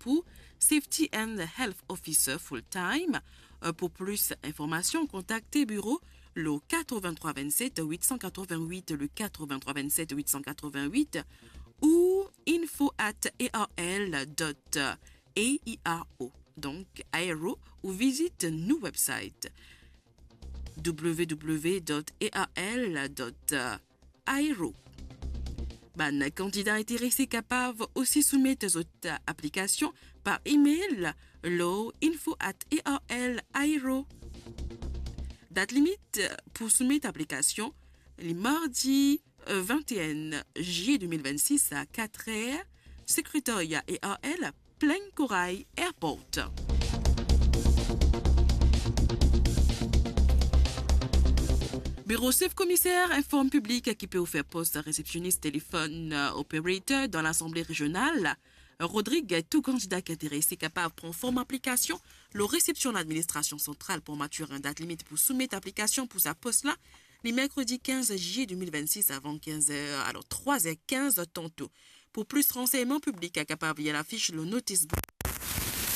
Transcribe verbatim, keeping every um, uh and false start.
pou Safety and Health Officer full time. Euh, pou plis informasion, kontakte biro le quatre-vingt-trois vingt-sept huit cent quatre-vingt-huit, le quatre-vingt-trois vingt-sept huit cent quatre-vingt-huit, ou info at A R L dot A I R O. Donk, Aero, ou vizit nou website w w w dot A R L dot aero. Bann kandida interese kapav osi soumet zot aplikasion par email lor info at A R L aero. Dat limit pou soumet aplikasion, li mardi, euh, vingt et un juillet deux mille vingt-six à quatre heures, sekretaria A R L, Plaine Corail Airport. Biro sef komiser inform piblik ki pe ofer pos resepsionis telefonn, euh, operator dan Lasanble Rezional. Rodrig, tou kandida ki interese kapav pran form aplikasion lor resepsion ladministrasion santral pou Maturin. Dat limit pou soumet aplikasion pou sa pos la, li merkredi quinze juillet deux mille vingt-six avan quinze heures, alors trois heures quinze tantôt. Pou plis ransegnman, piblik kapav lir lafis lor notis board